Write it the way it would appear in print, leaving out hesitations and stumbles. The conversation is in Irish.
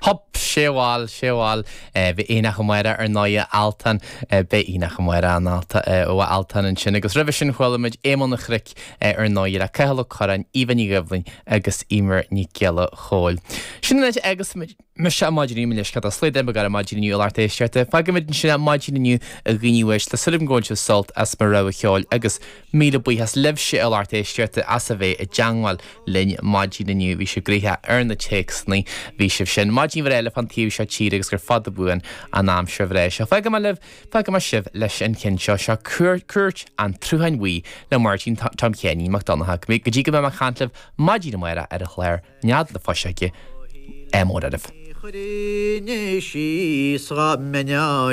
Hup! Sé bhail, sé bhail. Bhí Aonach Amárach ar ndóighe Altan. Beidh Aonach Amárach an Alta ó Altan ansin agus roimhe sin chuala muid Éamonn an Chnoic ar ndóighe le Cathal Ó Curráin, Aoibhe Ní Dhoibhlin agus Eimear Nic Giolla Chóill. Sin an áit agus mise ar maidin inniu, mo leithscéal tá slaod imeacht ar maidin inniu a lucht éisteachta. Fágfaimid ansin maidin inniu a dhaoine uaisle, súil agam go bhfuil sibh sult as mo rogha cheoil agus Míle buíochas libhse a lucht éisteachta as a bheith i dteangmháil linn maidin inniu. Bhí sibh gnoitheach ar na téacsanna, bhí sibh sin. Maidin bhreá eile fán taobh seo tíre agus gur fada buan an aimsir bhreá seo. Fágfaidh mé libh, fágfaidh mé sibh leis an cheann seo. Seo Cúirt an tSrutháin Bhuí le Máirtín Tom Sheáinín Mac Donncha. Go dtí go mbeidh mé ag caint libh maidin amárach ar an chlár Nead na Fuiseoige, ádh mór oraibh. Chuirfinn síos dhá mbeinn á.